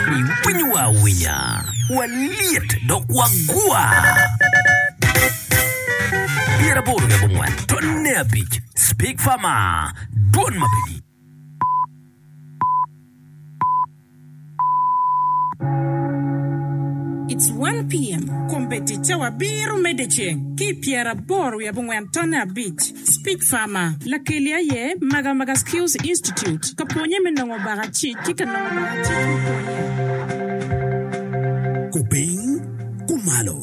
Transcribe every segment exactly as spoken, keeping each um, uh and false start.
Iwinyowa awinya, walyet dok wagwa. Pyeraboro wiye abongwen tonne abic Speak Farmer, dwon ma pe gik. It's one PM, Kombeddi cawa abiro me dyeceng ki i pyeraboro wiye abongwen tonne abic. Speak Farmer, Lakeli aye Magamaga Skills Institute, ka pwonye me nongo bakacic ki ka nongo bakacic me pwonye. Kupiny, kumalo,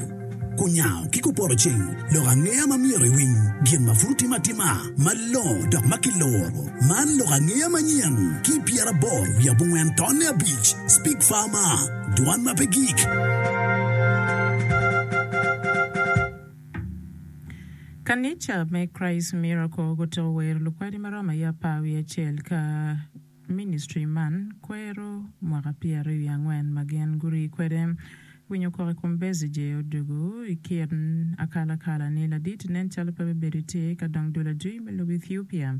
kunyango ki kupoto ceng, lok angeya ma myero iwiny, gin ma pud otime atima, malongo dok ma kiloro. Man lok angeya manyen ki i pyeraboro wiye abongwen tonne abic. Speak Farmer, dwan ma pe gik. Kanica me Christ Miracle gutuko wero lukwadi ma romo aye apar wiye acel ka ministry man kwero mwaka pyeraryo wiye angwen ma gin gurii kwede. Winyo kok i kom Besigye odwogo i kin akalakala ni ladit nen calo pe bibedo tye ka dong dul adwi me lobo Ethiopia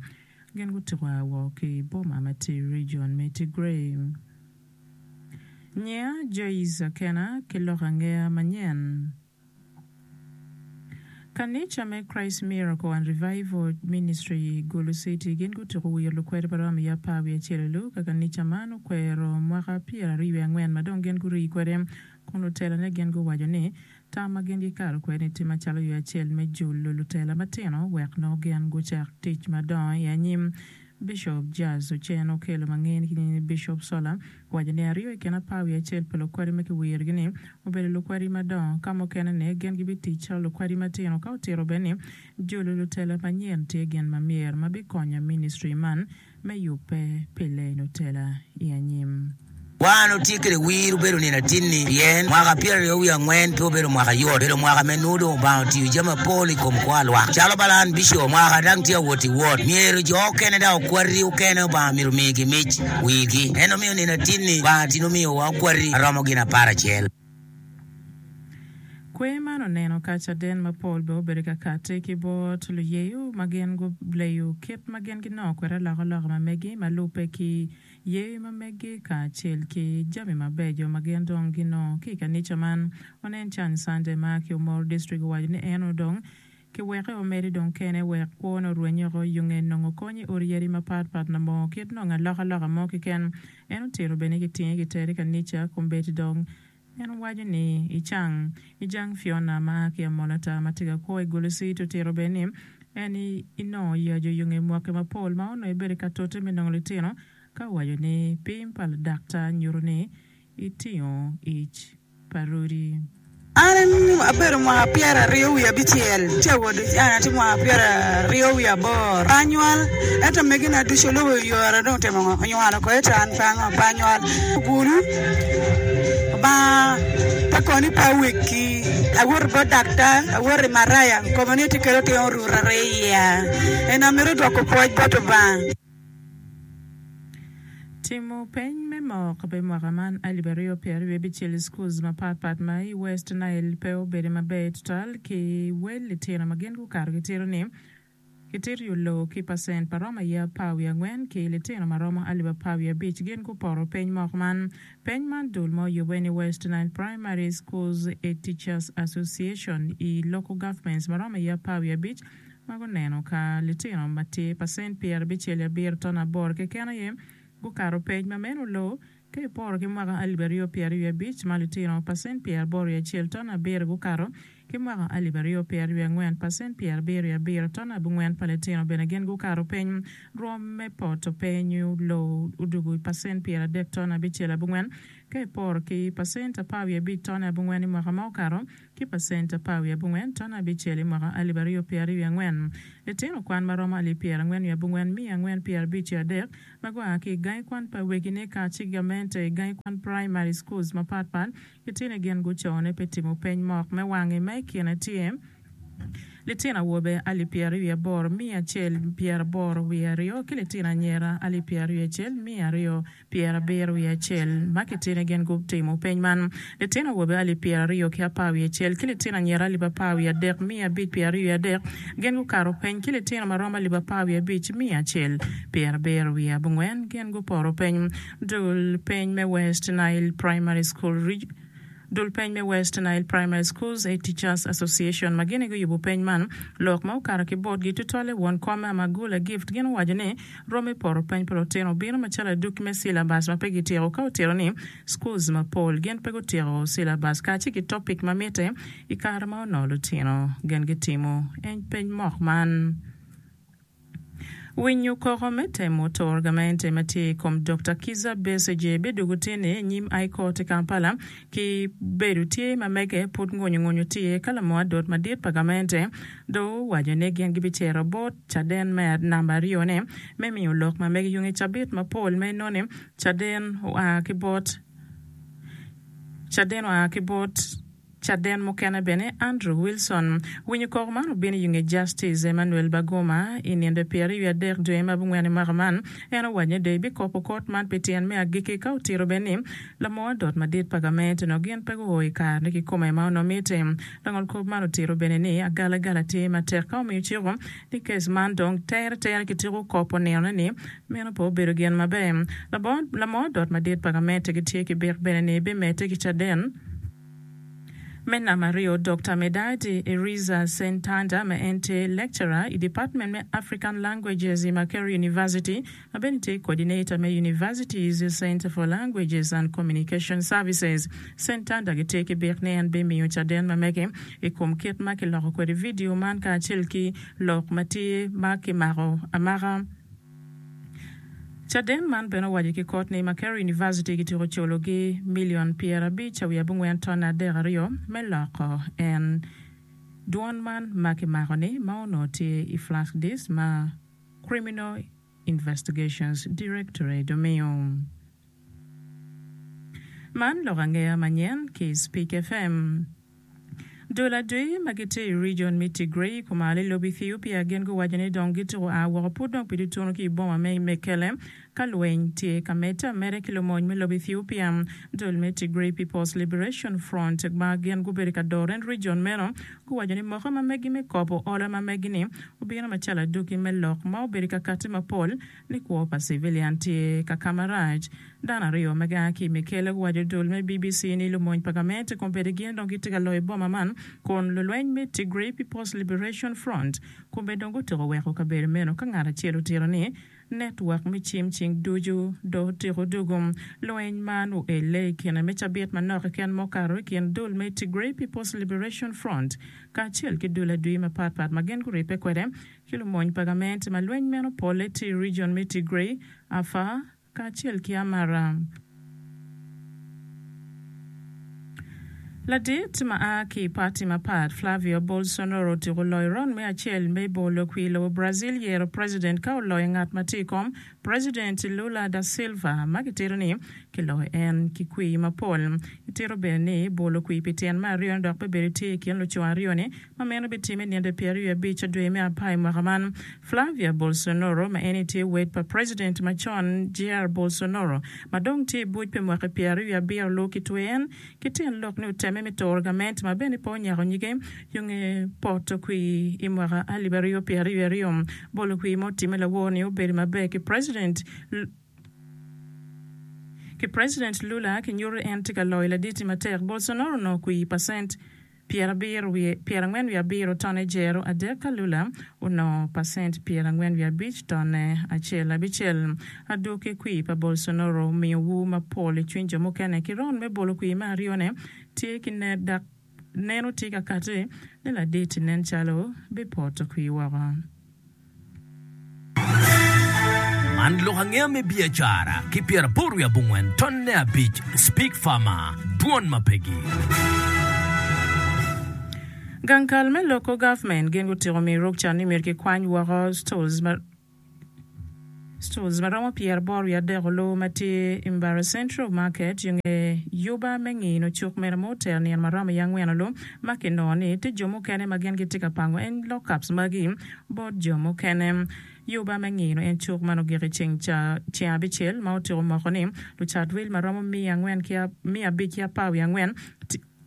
gin gutuko a woko ki i boma ma tye i region me Tigray. Nyiya Joyce Akena ki lok angeya manyen. Kanica me Christ Miracle and Revival Ministry i Gulu City gin gutuko wiro lukwede ma romo i apar wiye acel olu ka kanica man okwero mwaka pyeraryo wiye angwen ma dong gin gurii kwede kun lutelane gin guwaco ni tam ma gin gikato kwede ni tye macalo yo acel me julo lutela matino wek nongo gin gucak tic madongo i anyim. Bishop Jazz Ocen Okello ma ngene ki nying ni Bishop Sola owaco ni aryo i kin apar wiye acel pa lukwadi ma kiwirogi-ni obedo lukwadi madongo ka mukene-ni gin gibitic calo lukwadi matino ka otito bene ni jolo lutela manyen tye gin ma myero ma bikonyo ministry man me yubbe pi leno tela i anyim. Wan otye kwede wir obedo nino atinni, pien mwaka pyeraryo wiye angwen pe obedo mwaka yot, obedo mwaka me nwo dong Obanga otiyo jami mapol i kom kwo alwak. Calo Balan Bicop, mwaka dang tye awot i wot, myero jo okene dok okwati okene Obanga myero omigi mic wirgi. En omiyo nino atinni Obanga tin omiyowa okwati aromo gin aparacel. Kwer man oneno ka caden mapol bene obedo ka kati ki bot luyeyo ma gin guleyo kit ma gin ginongo kwede alokaloka ma megi ma lubbe ki Yeyo ma meggi kacel ki jami mabeco ma gin dong ginongo ki i kanica man. Onen Chan Sunday ma ki Omoro District owaco ni en onongo dong kiweke omedi dong kene wek kwone orweny oko yunge nongo kony i odi yadi mapat pat labongo kit nongo alokaloka mo keken. En otito bene ni kitinge kitere i kanica kombeddi dong En owaco ni, Icang. Ijang Fiona, ma a ki Amolatar ma tye ka kwo i Gulu City otito bene ni en inongo yaco i nge mwaki mapol ma onongo ebedo ka tute me nongo litino ka owaco ni pim pa ladaktar nyuto ni itingo ic pa rudi. An abedo mwaka pyeraryo wiye abicel, ci awoto an atye mwaka pyeraryo wiye aboro. Pe anywal, ento megina ducu olubo yora dong otimo ngo? Onywalo oko, ento an pe ango? Pe anywal. Ogulu, Lubanga pe kono ni pe awekki. Awoto bot daktar, awoto i maraya, koma ni atye kede otin oruto aryo i iya. En amito dwoko pwoc bot Lubanga. Timo peny me mok pi mwaka man alip aryo pyeraryo wiye abicel i schools mapat pat ma i West Nile pe obedo maber tutwal ki wel litino ma gin gukato gitito ni gitito yo ki pacent pa romo aye apar wiye angwen ki litino ma romo alip apar wiye abic gin gupoto peny mok man. Peny man dul ma oyubbe ni West Nile Primary Schools Teachers Association i local governments ma romo aye apar wiye abic ma guneno ka litino ma tye pacent pyerabicel abiro ton aboro keken aye gukato peny ma meno oloo ka iporo ki mwaka alip aryo pyeraryo abic ma litino pacent pyeraboro wiye acel ton abiro gukato ki mwaka alip aryo pyeraryo angwen pacent pyerabiro abiro ton abongwen pa litino bene gin gukato peny rwom me poto peny oloo odugo pacent pyeradek ton abicel abongwen ka iporo ki pacent apar wiye abic ton abongwen i mwaka ma okato ki pacent apar wiye abongwen ton abicel i mwaka alip aryo pyeraryo wiye angwen. Litino kwan ma romo alip pyerangwen wiye abongwen miya angwen pyerabic wiye adek ma gua ki i gangi kwan pa wegine kacel ki gamente i gangi kwan primary schools mapat pat gitye ni gin gucone pi timo peny mok me wangi ma i kine tye Litino awobe alip pyeraryo wiye aboro miya acel pyeraboro wiye aryo ki litino anyira alip pyeraryo wiye acel miya aryo pyerabiro wiye acel ma kitine gin gutimo peny man. Litino awobe alip pyeraryo ki apar wiye acel ki litino anyira alip apar wiye adek miya abic pyeraryo wiye adek gin gukato peny ki litino ma romo alip apar wiye abic miya acel pyerabiro wiye abongwen gin guporo peny. Dul peny me West Nile Primary School Dul peny me West Nile Primary Schools A Teachers Association ma gin aye guyubo peny man, lok ma okato ki botgi tutwalle won kom me Amagula Gift gin owaco ni rom me poto peny pa lutino obino macalo adwogi me syllabus ma pe gityeko ka otito ni schools mapol gin pe gutyeko syllabus kacel ki topic ma mitte i kare ma onongo lutino gin gitimo peny mok man. Winyo koko me temo turo gamente ma tye i kom Dokta Kizza Besigye bidwogo tye-ni i nyim High Court i Kampala ki bedo tye ma mege pud ngunyu ngunyu tye ka lamo adot madit pa gamente dong owaco ni gin gibicito bot caden me namba aryo-ne me miyo lok ma mege yung i cabit mapol ma inoni caden oa ki bot caden oa ki bot Caden mukene bene, Andrew Wilson. Winyo koko man obino i nge Justice Emmanuel Baguma i nindo pyeraryo wiye adek dwe me abongwen i mwaka man. En owaco ni dong ebikopo kot man pi tyen me agikki ka otito bene ni lamor adot madit pa gamente onongo gin pe guo i kare kikome ma onongo mitte. Langol kop man otito bene ni agalagala tye matek ka omiyo ciko ni kes man dong tere tere kitiko kopo ninone ni meno pe obedo gin maber. Lamor adot madit pa gamente gitye ki bik bene ni bimedde ki caden. Me namba aryo, Dokta Medadi Eriza Sentanda ma en tye Lecturer i Department me African Languages i Makerere University ma bene tye Coordinator me University's Centre for Languages and Communication Services. Sentanda gitye ki bik ni en bimiyo caden ma mege i kom kit ma kiloko kwede vidio man kacel ki lok ma tye ma kimako amaka. Caden man bene owaco ki kot ni Makerere University gityeko culogi milion pyerabic wiye abongwen tonne adek aryo me loko en dwon man ma kimako-ni ma onongo tye i flash disk ma Criminal Investigations Directorate omiyo. Man lok angeya manyen ki Speak FM. Dul adwi ma gitye i region me Tigray kumalo i lobo Ethiopia gin guwaco ni dong gituko a woko pud dong pi tutunu ki i boma me Mekelle ka lweny tye ka medde ameda ki lumony me lobo Ethiopia. Dul me Tigray People's Liberation Front ma gin gubedo ka doro en region meno guwaco ni moko ma megi me kobo olo ma megi-ni obino macalo adwogi me lok ma obedo ka kati mapol ni kwo pa civilian tye ka ka marac. Dano aryo ma gia ki i Mekelle guwaco dul me B B C ni lumony pa gamente kombeddi gin dong gitye ka loyo boma man kun lulweny me Tigray People's Liberation Front kombeddi dong gutyeko weko kabedo meno ka ngat acel otito ni network me cim cing ducu dong otyeko dugu. Lweny man oelle i kine me cabit manok keken ma okato i kin dul me Tigray People's Liberation Front kacel ki dul adwi mapatpat ma gin guribbe kwede ki lumony pa gamente ma lweny meno polle tye i region me Tigray, Afar kacel ki Amara. Ladit ma a ki i pati mapat, Flavio Bolsonaro otyeko loyo round me acel me bolo kwir lobo Brazil yero president ka oloyo ngat ma tye i kom, President Lula da Silva ma kitito ni kiloyo en ki kwir mapol. Kitito bene ni bolo kwir pi tyen me aryo ni dok bibedo tye i kin luco aryo-ni ma meno bitimme nino pyeraryo abic dwe me apar i mwaka man. Flavia Bolsonaro ma en tye wed pa President macon Jair Bolsonaro ma dong tye i buc pi mwaki pyeraryo abiro lubo kitwe en ki tyen lok ni otemme me turo gamente ma bene pe onyako nyige yo nge poto kwir i mwaka alip aryo pyeraryo aryo. Bolo kwir ma otimme lawor ni obedo maber ki President ki President Lula kinyuto en tye ka loyo laditi matek. Bolsonaro onongo kwir pacent pyerangwen wiye abiro tonne jero adek ka Lula onongo pacent pyerangwen wiye abic tonne acel abicel. Adwogi kwir pa Bolsonaro omiyo wu mapol i cwiny jo mukene ki round me bolo kwir me aryone tye ki dok neno tye ka kati ni ladit nen calo bipoto kwir woko. Man lok angeya me biacara ki pyeraboro wiye abongwen tonne abic Speak Farmer, Dwon ma pegi. Gang kal me local government gin gutyeko miyo rukca ni myero kikwany woko stools ma Stores ma romo pyeraboro wiye adek olu ma tye i Mbarara Central Market i nge yuba me ngino cuk meno ma otero nino ma romo i angwen olu ma kinongo ni tye jo mukene ma gin gitye ka pango en lockups magi bot jo mukene. Yuba me ngino en cuk man ogik i ceng ceng abicel ma otyeko moko ni lucat wil ma romo miya angwen ki miya abic ki apar wiye angwen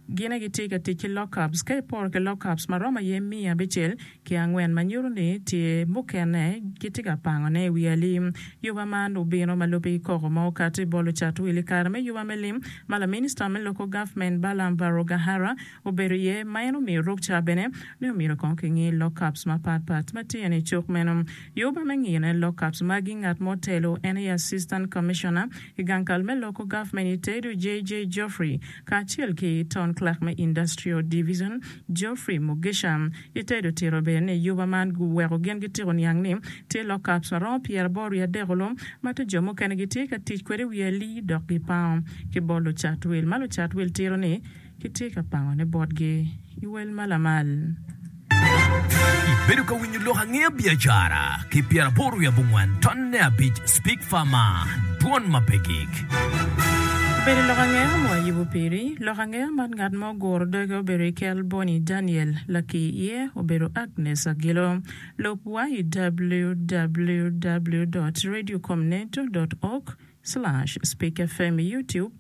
Gin aye gitye ka tic ki lockups. Ka iporo ki lockups ma romo aye miya abicel ki angwen ma nyuto ni tye mukene gitye ka pangone i wi alim. Yuba man obino ma lubbe ki koko ma okati bot lucat wil i kare me yuba me lim ma laminista me Local Government Balaam Barugahara obedo iye ma en omiyo rukca bene ni omyero kong kingi lockups mapat pat ma tye i cuk meno. Yuba me ngine lockups magi ngat ma otelo en aye Assistant Commissioner i gang kal me Local Government i Tedo J J Geoffrey kacel ki Town Clerk me Industrial Division, Geoffrey Mugisha. Itedo otito bene ni yuba man guweko gin gitiko niang ni tye lockups ma romo pyeraboro wiye adek olu ma to jo mukene gitye ka tic kwede i wi alii dok gipango ki bot lucat wil ma lucat wil tito ni gitye ka pangone botgi i wel ma lamal. Ibedo ka winyo lok angeya biacara ki pyeraboro wiye abongwen tonne abic Speak Farmer, Dwon ma pe gik. Obedo lok angeya ma wayubo piri. Lok angeya man ngat ma oguro doge obedo i kel Boni Daniel, laki iye obedo Agnes Agilo. Lub wa i W W W dot radiocomneto dot org slash speakfm i YouTube,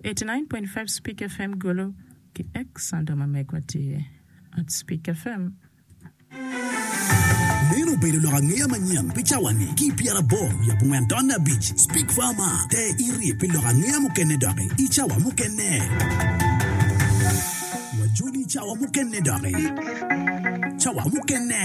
eighty-nine point five Speak F M Gulu ki X handle ma megwa tye at Speak F M. Meno obedo lok angeya manyen pi cawa-ni ki pyeraboro wiye abongwen tonne abic Speak Farmer te iri pi lok angeya mukene doki i cawa mukene. Wajoli i cawa mukene doki. Cawa mukene.